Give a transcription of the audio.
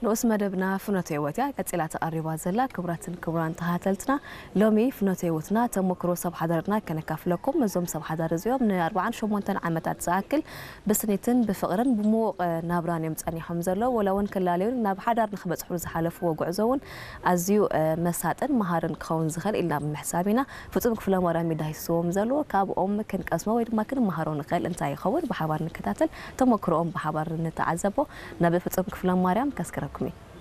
ንኡስ መደብና ፍኖተ ህይወት እያ ቀጺላ ተቐሪባ ዘላ። ክቡራትን ክቡራን ተኸታተልትና፣ ሎሚ ፍኖተ ህይወትና ተሞክሮ ሰብ ሓዳርና ከነካፍለኩም። እዞም ሰብ ሓዳር እዚኦም ንኣርባዓን ሸሞንተን ዓመታት ዝኣክል ብስኒትን ብፍቕርን ብምዉቕ ናብራን እዮም ጸኒሖም ዘለዉ። ወላ እውን ክላለዩን ናብ ሓዳር ንክበጽሑ ዝሓለፍዎ ጉዕዞ እውን ኣዝዩ መሳጥን መሃርን ክኸውን ዝኽእል ኢልና ብምሕሳብ ኢና። ፍጹም ክፍለማርያም እዩ ዳሂስዎም ዘሎ። ካብኦም ክንቀስሞ ወይ ድማ ክንመሃሮ ንኽእል እንታይ ይኸውን? ብሓባር ንከታተል፣ ተሞክሮኦም ብሓባር ንተዓዘቦ። ናብ ፍጹም ክፍለማርያም ከስክረኩም እዩ።